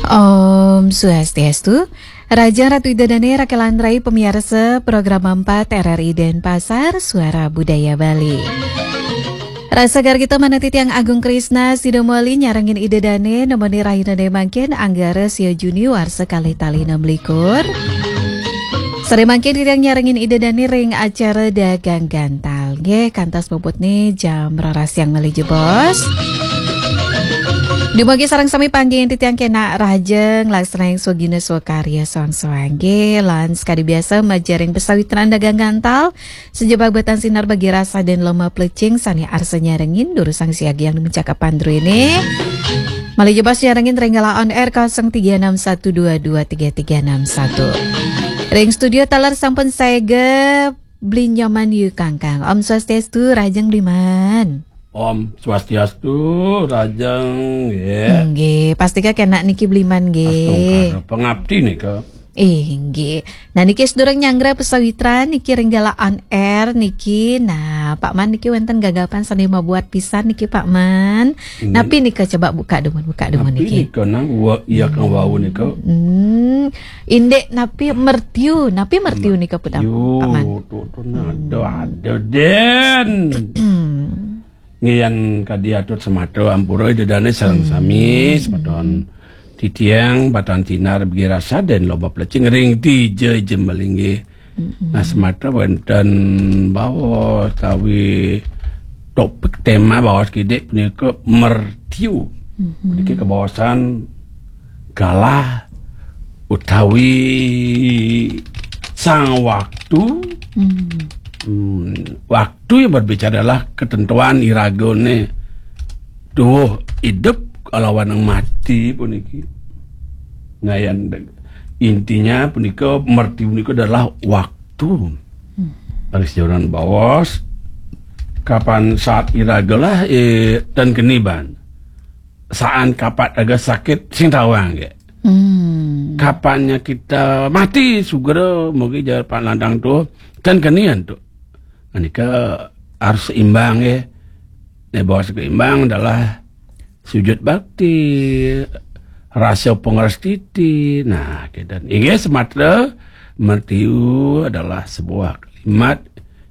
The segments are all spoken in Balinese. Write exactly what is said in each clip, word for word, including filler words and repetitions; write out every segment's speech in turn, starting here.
Om Swastiastu. Rahajeng Ratu Ida Dané, Raka lan Rai, pamiarsa Program empat R R I Denpasar, Suara Budaya Bali. Rasa gargita manah titiang Agung Krisna, sida mawali nyarengin Ida Dané, nemoni rahinané mangkin, Anggara sia Juni warsa kalih tali enam likur. Sareng mangkin titiang nyarengin Ida Dané ring acara Dagang Gantal. Nggih, kantos puputné jam roras siang malih jebos. Dumugi sareng sami panggih titiang kénak rahajeng, laksanaing swagina swakarya soang-soang nggih, lan sakadi biasa majeng ring pasawitran Dagang Gantal, sajebag batan sinar bagi rasa dan lomba plecing sané arsa nyarengin, durusang siagian mencakapan druéné. Malih jebos nyarengin ring galah on air kosong tiga enam satu dua dua tiga tiga enam satu. Ring studio taler sampun saéga Bli Nyoman Yu Kangkang. Om Swastiastu, rahajeng Bliman. Om Swastiastu, rahajeng, ya. Nggih, pastika kénak niki Bliman nggih. Astungkara pangapti nika. Inggih. Nah, niki sedurung nyanggra pasawitran niki ring galah on air niki. Nah, Pak Man niki wénten gagapan sané mabuat pisan niki, Pak Man. Inggih. Napi nika, coba buka dumun, buka dumun. Napi niki nika, nang wa-, iya kang wau nika? Hmm. Indik napi mertiu, napi mertiu nika, Pak Man? Mertiu, tuh, tuh, nah, ada, ada, Den. Hmm. Nggih, yan kadi atur sematra ampura Ida Dané sareng sami, semeton titiang batan sinar bagi rasa dan lomba plecing ring dija jembeling nggih. Nah, sematra wénten baos utawi topik tema baos kidik punika mertiu. Puniki kabaosan galah utawi sang waktu. Hmm, waktu yang berbicara adalah ketentuan iragané tuwuh idup kalawan mati puniki. Nah, yang de-, intinya punika, mertiu punika adalah waktu. Ring sejauran baos, kapan saat iragalah, eh, tan keni ban. Saan kapat raga sakit sing tawang, nggih. Hmm. Kapannya kita mati, sugra, mugi jar Pak Landang tuh, kan kenian tuh. Nah, nika harus seimbang, nggih. Nek baos seimbang adalah sujud bakti, rasa pangrastiti. Nah, kita inggih sematra mertiu adalah sebuah kalimat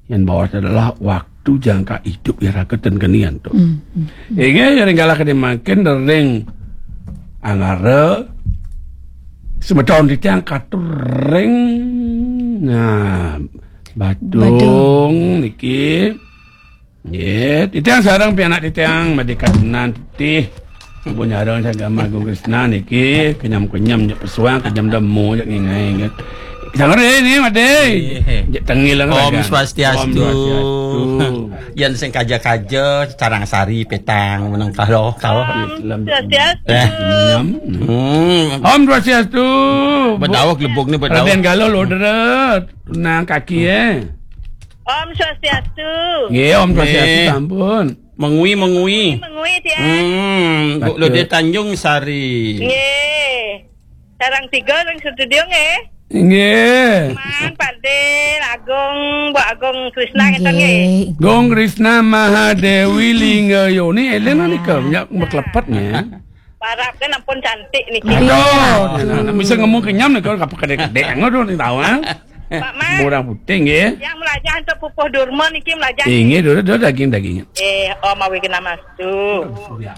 yang baos adalah waktu jangka hidup iraga ten kenian tuh. Hmm, hmm, hmm. Inggih, ring galah kadi mangkin ring Anggara semeton titiang katur ring, nah, Badung. Badung niki. Nggih, titiang sareng pianak titiang madika tenan titih. Ibu nyareng sagama Agung Krisna niki kenyam-kenyam, nyek pesuang, kenyam demo, nyek ngingai, nggih. Sangger ini, Made. Nggih. Nyek tengil lah. Om Swastiastu. Om Swastiastu. Yan sing kaja-kaja, Carangsari, Petang, meneng kalo, kalo. Om Swastiastu. Eh. Kenyam. Hmm. Om Swastiastu. Bedawek lebuk ni, bedawek. Raden Galuh, Lodret. Nang kaki, eh. Om Swastiastu. Nggih, Om Swastiastu, nggih. Sampun. Mengwi, mengwi. Mengwi, tiang. Hmm, Bu Lode Tanjung Sari. Nggih. Sareng tiga ring studio, nggih. Nggih. Man, Pak Dil, Agung, Bu Agung Krisna, ngeten, nggih. Nggih. Gung Krisna Mahadewi Lingga Yoni, eling nika, nyak meklepet, nggih. Parab kan ampun cantik niki. Aduh, nah, nah, bisa ngomong kenyam nih kalau kapal kedek-kedek, aduh, nih tahu, ah. Pak Man. Orang putih, nggih. Yang melajah untuk pupuh durma niki melajah. Inggih, dulu, dulu daging-daging. Eh, oh, mawi kena mas tu. Ya.